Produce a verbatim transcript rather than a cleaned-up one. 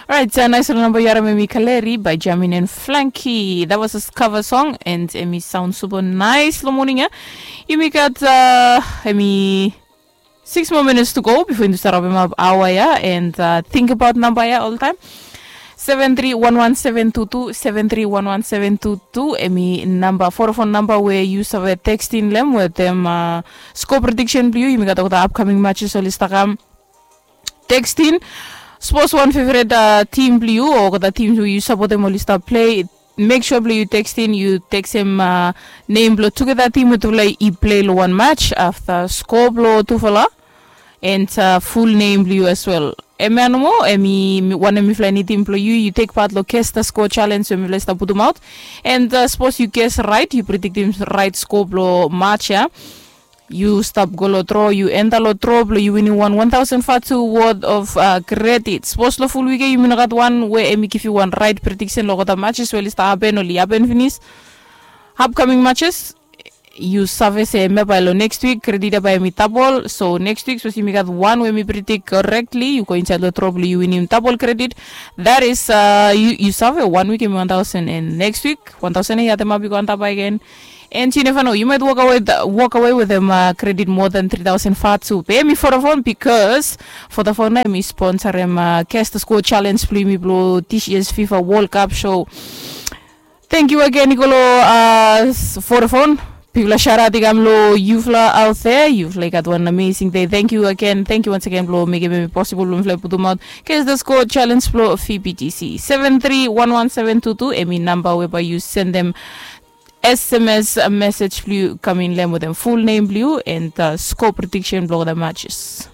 Right, uh, nice little number yu harim, emi Kaleri by Jamin and Flanky. That was a cover song and emi sound super nice lo morning ya. Yumi gat uh, emi six more minutes to go before yumi start wrap up awa ya and uh, think about number ya all the time. Seven three one one seven two two, seven three one one seven two two, emi number, four phone number where you save texting them with them uh, score prediction blue. Yumi gat all the upcoming matches oli start kam texting. Suppose one favorite uh, team blue or the team who you support them oli start play. Make sure blue you texting, you text him uh, name blue together team with play i play lo one match after score blue tufala and uh, full name blue as well. Emi anomo, emi one emi fly ni team blue you, you take part lo guess the score challenge so emi fly start putum out. And uh, suppose you guess right, you predict him right score blue match ya. You stop go lo draw, you enter lo draw blue, you winning one one thousand fatu worth of uh, credit. Suppose lo full week ya, you mean got one where emi give you one right prediction lo the matches where list happen oli happen finish. Upcoming matches, you save se emi ya by lo next week credit ya by emi double. So next week, suppose emi got one where emi predict correctly, you go inside lo draw blue, you win him double credit. That is uh, you, you save one week emi one thousand and next week one thousand ya, the mabi go anta by again. And you never know, you might walk away, walk away with them uh, credit more than three thousand fatu. Pay me for the phone because for the phone emi sponsor him uh, guess the score challenge blue emi blue this year's FIFA World Cup show. Thank you again, Nicolo, uh, for the phone. People are shout out, I'm low, you fly out there, you fly got one amazing day. Thank you again. Thank you once again, blow, make it possible, blow, fly, put them out. Guess the score challenge, blow, F B T C. Seven three one one seven two two, emi number whereby you send them S M S message blue coming lem with them full name blue and uh, score prediction blue the matches.